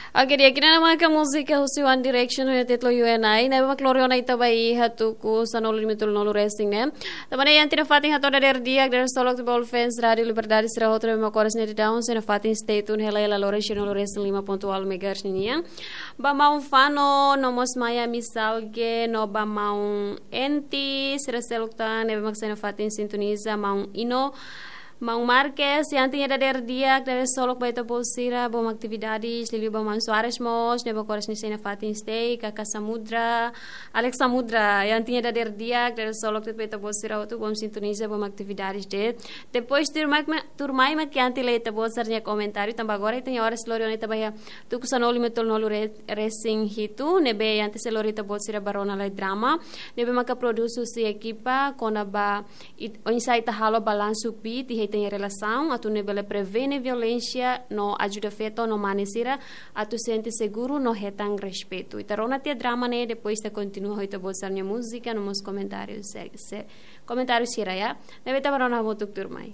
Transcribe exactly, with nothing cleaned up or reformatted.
Oke, di'ak, ida-ne'e maka múzika husi One Direction ho títulu You and I, ne'ebé mak lori ona ita ba iha tuku sanulu lima tolu nolu resin ne'e. Tanba ne'e iha ita-nia fatin hato'o dadeer di'ak, dadeer solok ba all fans Rádio Liberdade sira hotu ne'ebé mak oras ne'e daudaun sira-nia fatin stay tune hela iha laloran sien nulu resin lima pontu ualu megahertz ninian. Ba maun Fano, no mós Maya Misalge, no ba maun Enti, sira seluk tan ne'ebé mak sira-nia fatin sintoniza, maun Ino, maun Marques, iha ita-nia dadeer di'ak, dadeer solok ba ita-boot sira, boot atividades, liuliu ba maun Soares mós, ne'ebé mak oras ne'e sira-nia fatin stay, Kaka Samudra, Alex Samudra, iha ita-nia dadeer di'ak, dadeer solok ba ita-boot sira hotu, boot sintoniza, boot atividades de'it. Depois tuirmai, tuirmai mak iha ita-boot sira-nia komentáriu, tanba agora ita-nia oras lori ona ita ba iha tuku sanulu lima tolu nolu re-, resin hitu, ne'ebé iha ita sei lori ita-boot sira ba rona lai drama, ne'ebé maka produs husi ekipa kona-ba it-, oinsá ita halo balansu kbiit iha ita-nia relasaun, atu nune'e bele prevene violénsia no ajuda feto no mane sira atu sente seguru no hetan respeitu. Ita rona tiha drama ne'e, depois ita kontinua ho ita-boot sira-nia múzika no mós komentáriu se, se, komentáriu sira, ya. Ne'ebé ita ba rona hamutuk tuirmai.